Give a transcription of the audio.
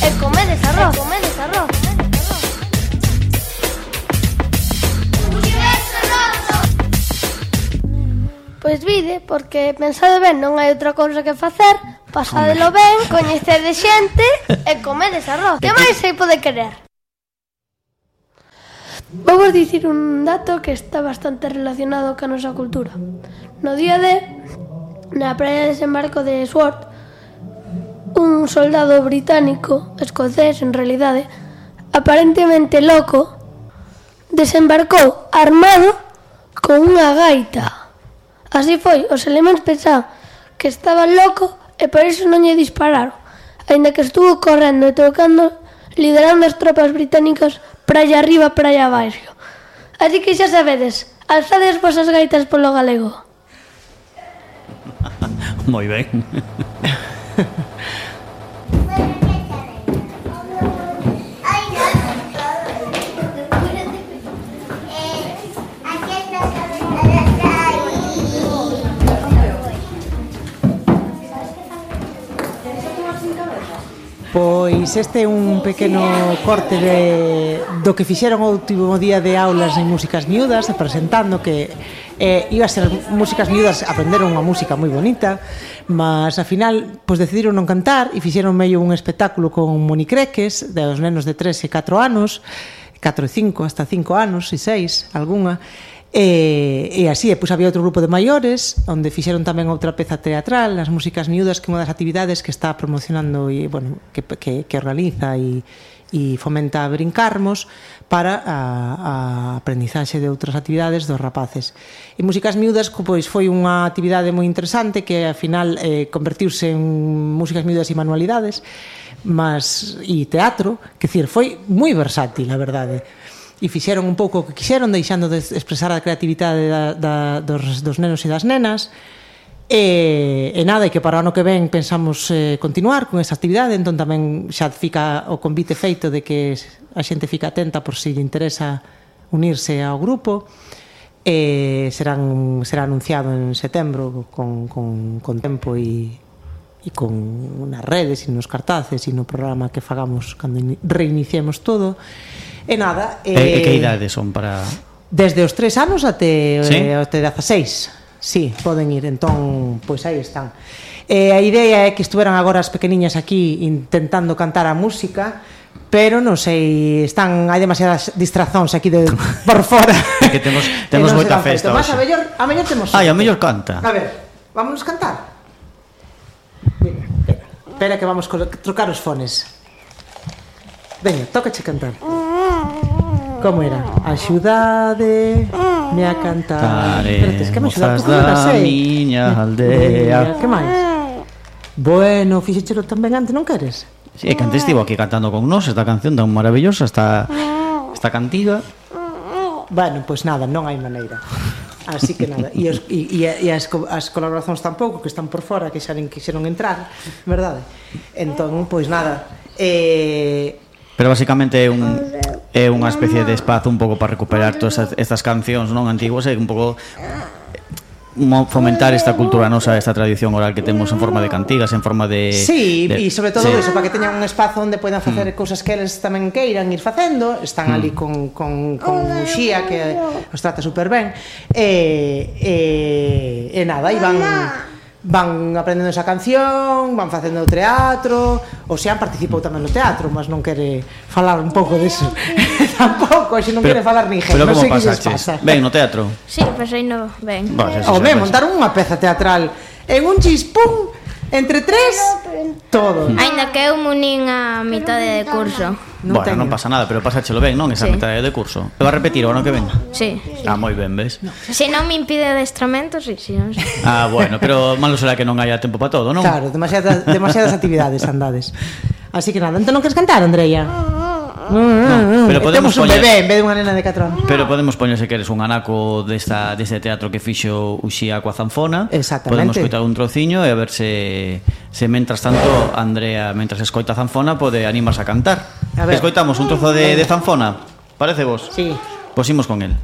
e comedes arroz. Pois vide, porque pensade ben, non hai outra cousa que facer, pasadelo ben, coñecede xente e comedes arroz. Que máis se pode querer? Vou dicir un dato que está bastante relacionado ca nosa cultura. No día de, na praia de desembarco de Sword, un soldado británico, escocés en realidade, aparentemente loco, desembarcou armado con unha gaita. Así foi, os elementos pensaban que estaba loco e por iso non lle dispararon, aínda que estuvo correndo e tocando, liderando as tropas británicas praia arriba, praia abaixo. Así que xa sabedes, alzade as vosas gaitas polo galego. Moi ben. Pois este é un pequeno corte do que fixeron o último día de aulas en Músicas Miúdas, presentando que iba a ser Músicas Miúdas, aprenderon unha música moi bonita, mas ao final pois decidiron non cantar e fixeron medio un espectáculo con monicreques dos nenos de 3 e 4 anos, 4 e 5, hasta 5 anos e 6, algunha. E así, pois había outro grupo de maiores onde fixeron tamén outra peza teatral, as Músicas Miúdas, que é unha das actividades que está promocionando e, bueno, que organiza e fomenta a Brincarmos para a aprendizaxe de outras actividades dos rapaces. E Músicas Miúdas pois foi unha actividade moi interesante que ao final convertiuse en Músicas Miúdas e manualidades e teatro, que decir, foi moi versátil, a verdade. E fixeron un pouco o que quixeron, deixando de expresar a creatividade dos nenos e das nenas. E nada, e que para o ano que ven pensamos continuar con esa actividade, entón tamén xa fica o convite feito de que a xente fica atenta por si lle interesa unirse ao grupo. Será anunciado en setembro con tempo e con nas redes e nos cartaces e no programa que fagamos cando reiniciemos todo. E nada, que idades son para...? Desde os 3 anos até 16. Sí, poden ir, entón, pois aí están. A idea é que estuveran agora as pequeniñas aquí intentando cantar a música, pero non sei, hai demasiadas distrazóns aquí por fora. Que temos moita festa hoxe. A mellor temos... A mellor canta. A ver, vámonos cantar? Espera que vamos trocar os fones. Veña, tócache cantar. Como era? Axudade me a cantar. Espérate, que me axudas da miña aldea. Que máis? Bueno, fixéchelo tan ben antes, non queres? Si, que antes estivo aquí cantando con nós esta canción tan maravillosa, esta cantiga. Bueno, pois nada, non hai maneira. Así que nada, e as colaboracións tampouco, que están por fora, que xa nen quixeron entrar, verdade? Entón, pois nada, pero basicamente é unha especie de espazo un pouco para recuperar todas estas cancións non antiguas e un pouco fomentar esta cultura nosa, esta tradición oral que temos en forma de cantigas, en forma de... Sí, e sobre todo eso, para que teñan un espazo onde poidan facer cousas que eles tamén queiran ir facendo. Están ali con Uxía, que os trata super ben, e nada, e van aprendendo esa canción, van facendo teatro. O Xean participou tamén no teatro, mas non quere falar un pouco deso. Tampouco, xe non quere falar ninguén. Pero como pasaches? Ben no teatro? Sí, pasei no ben. Home, montaron unha peza teatral en un chispún entre 3 todo. Ainda que eu munín a mitade de curso. Bueno, non pasa nada, pero pasáchelo ben, non? Esa mitade de curso. Te va a repetir o ano que ven? Sí. Moi ben, ves? Se non me impide adestramento, sí. Bueno, pero malo será que non haya tempo para todo, non? Claro, demasiadas actividades andades. Así que nada, entón non queres cantar, Andreia? Pero podemos temos un bebé en vez de unha nena de 4 anos. Pero podemos poñer, se queres, un anaco deste teatro que fixo Uxía coa zanfona. Exactamente. Podemos coitar un trociño e a ver se mentras tanto Andrea, mentras escoita a zanfona, pode animarse a cantar. Escoitamos un trozo de zanfona, parece vos? Sí. Pois imos con el.